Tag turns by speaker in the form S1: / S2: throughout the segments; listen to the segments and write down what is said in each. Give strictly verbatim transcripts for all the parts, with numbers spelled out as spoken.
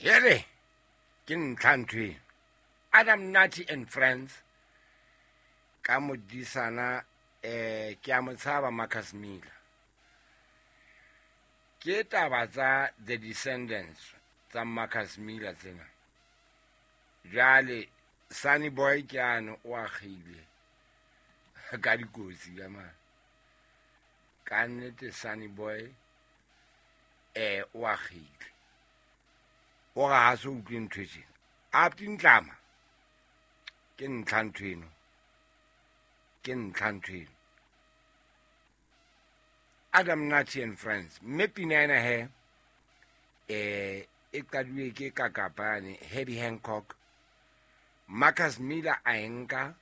S1: Hele, ke ntlha ntho eno. Adam Nutty and Friends ka modisana eh ke a mo tshaba Marcus Miller. Ke taba tsa The Descendants tsa Marcus Miller tsena. Jwale Sunny Boy ke ano o akgile ka dikotsi ka mane. Ka nnete Sunny Boy eh o akgile. O ga ha se utlwe ntho e tjena. A tintlama ke ntlha ntho eno. Ke ntlha ntho eno. Adam Nutty and Friends. Mme pina ena he eh e qadilwe ke kakapane Herbie Hancock. Marcus Miller a e nka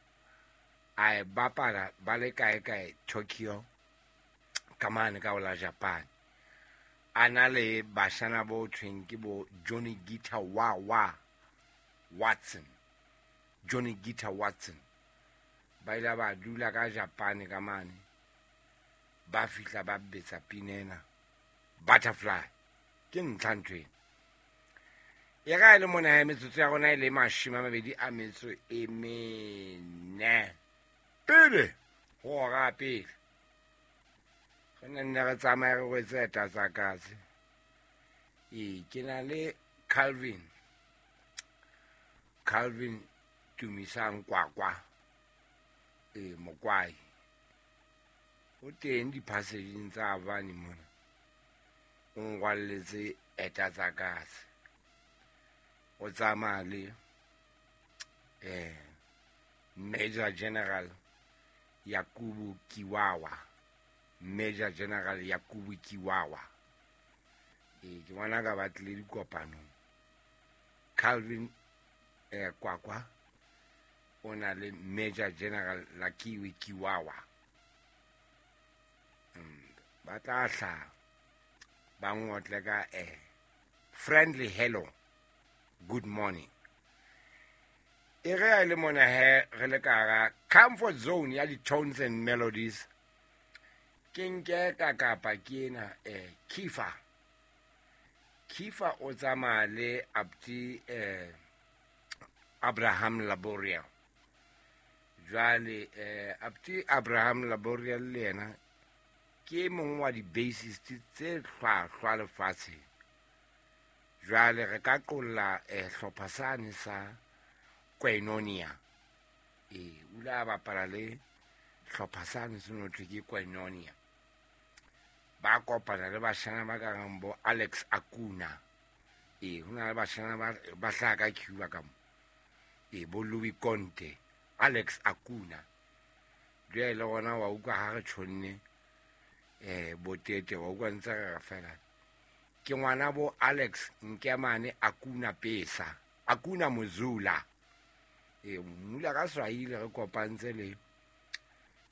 S1: a e bapala ba le kae kae Tokyo ka mane ka hola Japan. A na le bashana bo thweng ke bo Johnny Guitar Wah Wah Watson. Johnny Guitar Watson. Ba ile ba dula ka Japan ka mane. Ba fihla ba betsa pina ena Butterfly. Ke ntlha ntho ena. E ga e le mona ya metsotso ya rona e le mashome a mabedi a metso e mene. Pele ho hora pele. Re ne nne re tsamaya re rwetse eta tsa katse. Ee, ke na le Calvin. Calvin Tumisang Kwakwa. Ee, Mokwai. O teng di-passageng tsa Avani mona. O nrwalletse eta tsa katse. O tsamaya le eh Major General Yakubu Kiwawa. Major General Yakubu Kiwawa. E ke bona ka ba tlile dikopanong. Calvin eh Kwakwa o na le Major General Lakiwe Kiwawa. Mm, ba tla hla ba ngotle ka eh friendly hello. Good morning. E re a le mona he re le ka hara comfort zone ya di-tones and melodies. Ke nke ka kapa ke ena eh Kifa. Kifa o tsamaya le Abdi eh Abraham Laboriel. Jwale eh Abdi Abraham Laboriel le yena ke mong wa di-bassist tse hlwahlwa lefatsheng. Jwale re ka qolla eh hlopha sane sa Koinonia. Eh o ile a bapala le hlopha sane se no thwe ke Koinonia. Ba kopana le bashana ba karang bo Alex Akuna. Eh ho na le bashana ba ba hlaha ka Cuba ka mo. Eh bo Louis Conte, Alex Akuna. Jwale le rona wa utlwa ha re tjhonne eh botete wa utlwa ntse re re fela. Ke ngwana bo Alex Nkemane Akuna Pesa, Akuna Muzula. Eh mmula ka Swahili re kopantse le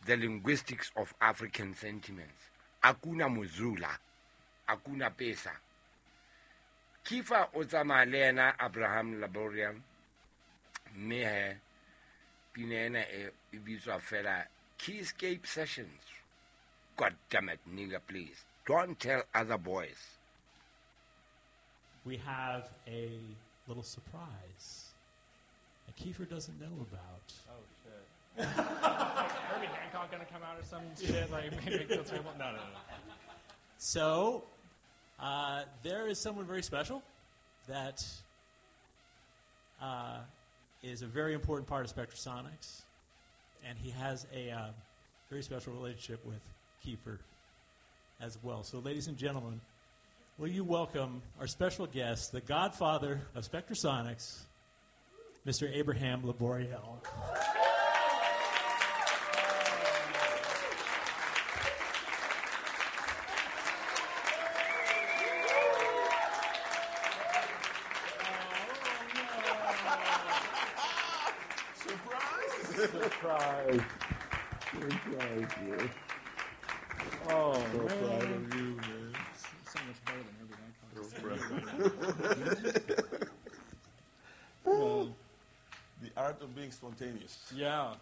S1: The Linguistics of African Sentiments. Akuna Muzula, Akuna Pesa. Kifa o tsamaya le yena Abraham Laboriel. Mme he pina ena e e bitswa fela Keyscape Sessions. God damn it, nigga, please. Don't tell other boys.
S2: We have a little surprise that Kiefer doesn't know about.
S3: Oh, shit. Like Herbie Hancock gonna come out or some shit? Like, maybe make feel terrible? No, no, no.
S2: So, uh, there is someone very special that uh, is a very important part of Spectrasonics, and he has a uh, very special relationship with Kiefer as well. So, ladies and gentlemen, will you welcome our special guest, the godfather of Spectrasonics, Mister Abraham Laboriel.
S4: Surprise! Surprise. Surprise, yeah.
S3: Oh,
S4: so
S3: man.
S4: Proud of you, man.
S3: So much better than Herbie Hancock.
S4: Well, the art of being spontaneous.
S3: Yeah.